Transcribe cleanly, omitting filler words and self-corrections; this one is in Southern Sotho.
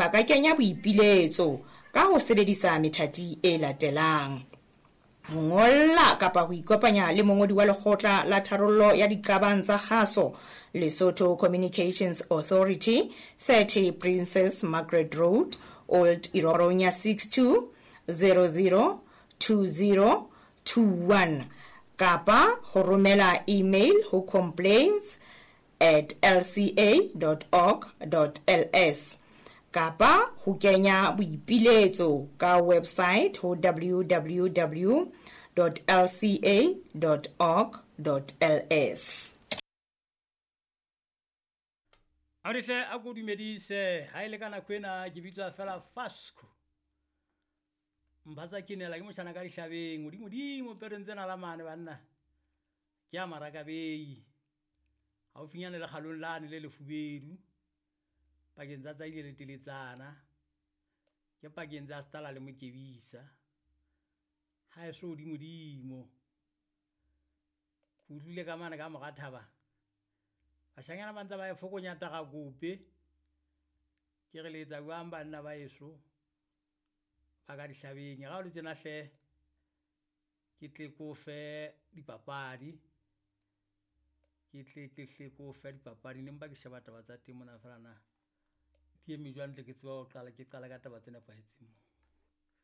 ba ka kenya boipiletso ka ho sebedisa methati e latelang: ho ngolla kapa ho ikopanya le mongodi wa Lekgotla la Tharollo ya Diqabang tsa Kgaso, Lesotho Communications Authority, 30 Princess Margaret Road, Old Ironya 62 00 20 21, kapa ho romela email ho complaints@lca.org.ls, kapa ho kenya boipiletso ka website ho www.lca.org.ls. Aodihle, a ko dumedise. Ha e le ka nako ena ke bitswa fela Fasco mphatsa, ke nela ke motjhana ka dihlabeng hodimodimo pereng tsena la mane banna ke a marakabei haufinyane le kgalong lane le lefubedu pakeng tsa Tsaile le Teletsana, ke pakeng tsa Stala le Mokebisa ha eso hodimodimo. Ke utlwile ka mane ka mora thaba bashanyana ba ntse ba e fokonya tarakope. Ke re le etsa jwang banna ba eso ba ka dihlabeng? Ga o le tjena hle, ke tle ko fe dipapadi, ke tle ke hle ko fe dipapadi. Ne mpa ke sheba taba tsa teng mona fela na di eme jwang, tle ke tseba ho qala, ke qala ka taba tse nepahetseng mo.